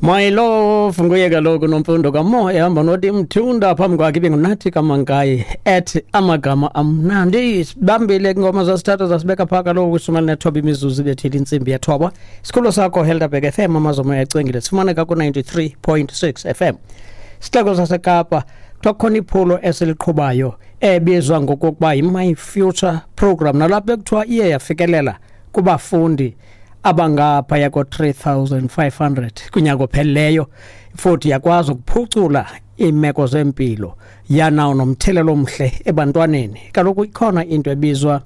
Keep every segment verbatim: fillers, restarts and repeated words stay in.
My love nguye kaloku Nomfundo Kamo ehamba noTim Mthunda, phambi kwakhe ibinguNathi Kamankayi ethi Amagama Amnandi. Sibambile ingoma zasithatha zasibeka phaa kaloku kwishumi elinethoba imizuzu ibethile intsimbi yethoba. Isikhululo sakho Helderberg F M, Amazomo yacwengile, sifumaneka ku-ninety-three point six F M. Sixeko saseKapa, kuthiwa kukhona iphulo esiliqhubayo ebizwa ngokokuba yi-My Future Program, nalapho ekuthiwa iye yafikelela kubafundi abangaphaya ko-three thousand five hundred kunyaka opheleleyo, futhi yakwazi ukuphucula iimeko zempilo, yanawo nomthelelo omhle ebantwaneni. Kaloku ikhona into ebizwa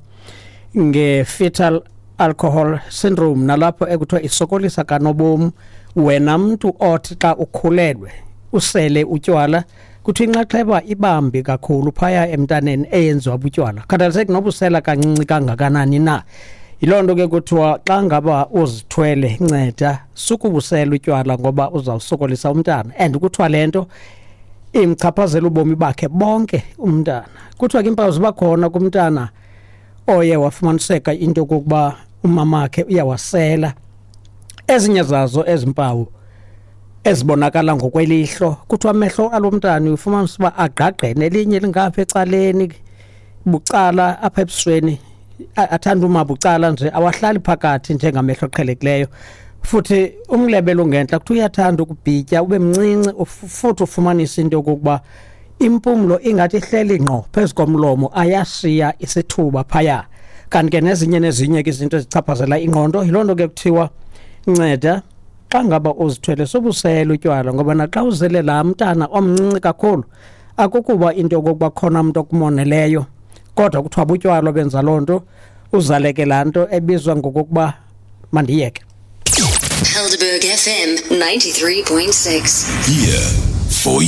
nge-fetal alcohol syndrome, nalapho ekuthiwa isokolisa kanobom wena mntu othi xa ukhulelwe usele utywala. Kuthiwa inxaxheba ibambi kakhulu phaya emntaneni eyenziwa butywala, khathaliseki noba usela kancinci kangakanani na. Yiloo nto ke kuthiwa xa ngaba uzithwele, nceda sukubusela utywala ngoba uzawusokolisa umntana, and kuthiwa le nto imchaphazela ubomi bakhe bonke umntana. Kuthiwa ke iimpawu ziba khona kumntana oye wafumaniseka into yokokuba umamakhe uyawasela. Ezinye zazo ezi mpawu ezibonakala ngokwelihlo, kuthiwa amehlo alo mntana ufumanisa uba agqagqene, elinye lingapha ecaleni bucala apha ebusweni, a- athanda uma bucala nje, awahlali phakathi njengamehlo aqhelekileyo. Futhi umlebe longentla kuthiwa uyathanda ukubhitya ube mncinci, uf- futhi ufumanise into yokokuba impumlo ingathi ihleli ngqo phezu komlomo, ayashiya isithuba phaya. Kanti ke nezinye nezinye ke izinto ezichaphazela ingqondo. Yiloo nto ke kuthiwa nceda xa ngaba uzithwele sobusela utywala, ngoba naxa uzele laa mntana omncinci kakhulu, akukuba into yokokuba khona mntu okumoneleyo, kodwa kuthiwa butywala benza loo nto, uzaleke laa nto ebizwa ngokokuba mandiyeke. Helderberg F M ninety-three point six. Here for